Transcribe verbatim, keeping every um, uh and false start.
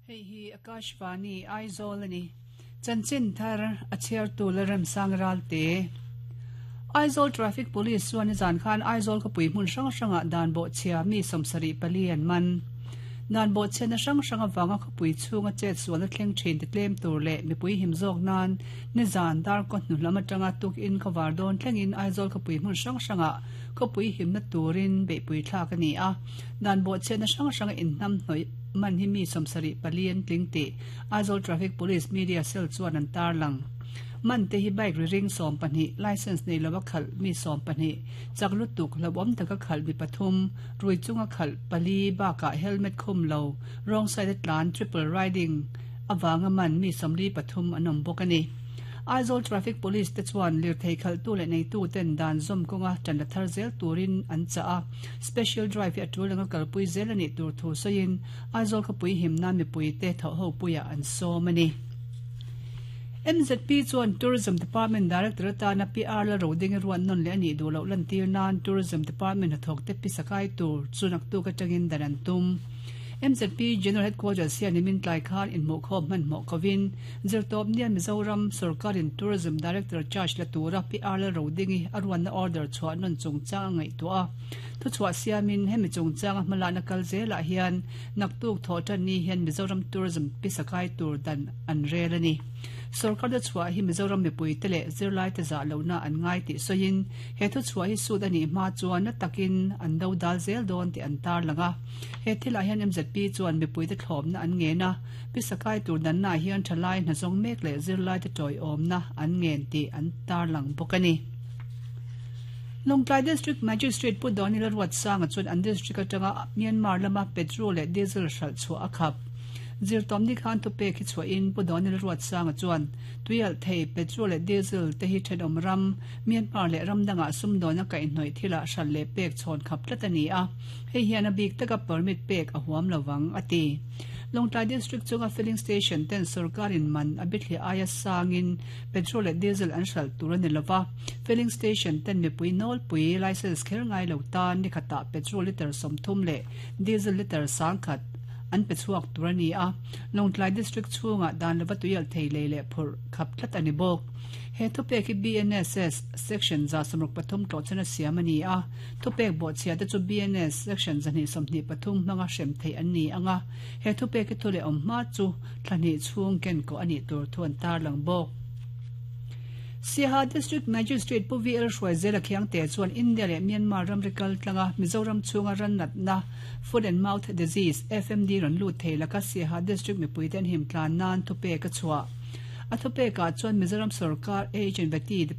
Hei hi Akashvani Aizawl ani. Chanchin thar a chhiartu la remsang ralte. Aizawl Traffic Police chuan nizan khan Aizawl khawpui hmun hrang hrangah dan bawhchhia mi sawmsarih pali an man. Dan bawhchhiatna hrang hrang avanga khawpui chhunga chet sualna thleng thin ti tlem tur leh mipui him zawk nan nizan darkaw hnu lam atanga tukin khawvar dawn thlengin Aizawl khawpui hmun hrang hrangah khawpui himna turin beihpui thlak a ni a. Dan bawhchhiatna hrang hranga inhnam hnawih man hi mi sawmsarih pali an tling tih Aizawl Traffic Police Media Cell chuan an tarlang. Man te hi bike ri ring sawm pahnih, license nei lova khalh mi sawm pahnih, chak lutuk hlauhawm taka khalh mi pathum, rui chunga khalh pali bakah helmet khum lo, wrong side a tlan triple riding avanga man mi sawmli pathum an awm bawk a ni. Aizawl Traffic Police te chuan lirthei khalhtu leh neitu ten dan zawm kawnga tan la thar zel turin an chah a, special drive hi a tul anga kalpui zel a nih tur thu sawiin Aizawl khawpui himna mipui te thawh ho puiah an sawm a ni. M Z P chuan Tourism Department Director atana P R Lalrodingi ruat nawn leh a nih duh loh lantir nan Tourism Department hnathawk te pisa kai tur chu naktuk atangin dan an tum. M Z P General Headquarters hian nimin tlai khan inhmuhkhawm hmanhmawh kovin zirtawp nia Mizoram sorkarin Tourism Director charge la tura P R Lalrodingi a ruatna order chhuah nawn chungchang a ngaihtuah a. Thuchhuah siamin hemi chungchanga hmalakna kal zelah hian naktuk thawh tan ni hian Mizoram Tourism pisa kai tur dan an rel a ni. Sarkar te chhuah hi Mizoram mipui te leh zirlai te zah lohna an ngai tih sawiin he thuchhuah hi sut a nih hma chuan na takin an do dal zel dawn tih an tarlang a. He thilah hian M Z P chuan mipui te thlawpna an ngen a, pisa kai tur dannaah hian thalai hnazawng mek leh zirlai te tawiawmna an ngen tih an tarlang bawk a ni. Lawngtlai District Magistrate Pu Donila Ruatsanga chuan an district atanga Myanmar lama petrol leh diesel hralh chhuah a khap. Zirtawm ni khan thupek hi chhuahin Pu Donila Ruatsanga chuan tuialh thei petrol leh diesel te hi thenawm ram Myanmar leh ram dangah sumdawn a kaihhnawih thilah hralh leh pek chhawn khap tlat a ni a, hei hian a bik taka permit pek a huam lovang a ti. Lawngtlai District chunga filling station ten sarkarin man a bithliah aia sangin petrol leh diesel an hralh tur a ni lova, filling station ten mipui nawlpui license kher ngai lo tan ni khatah petrol liter sawmthum leh diesel liter sangkhat an pe chhuak tur a ni a. Lawngtlai District chhungah dan lova tuialh thei lei leh phurh khap tlat a ni bawk. He thupek hi B N S S section za sawmruk pathum tlawhchhan a siam a ni a, thupek bawhchhia te chu B N S section zahnih sawmhnih pathum hmanga hrem theih an ni anga, he thupek hi thu leh awm hma chu thlahnih chhung ken kawh a nih tur thu an tarlang bawk. Siaha District Magistrate Pu V L Hruaizela Khiangte chuan India leh Myanmar ramri kal tlanga Mizoram chhunga rannatna Foot and Mouth Disease F M D rawn lut thei laka Siaha District mipui te an him tlan nan thupek a chhuah. A thupekah chuan Mizoram sarkar H and Vety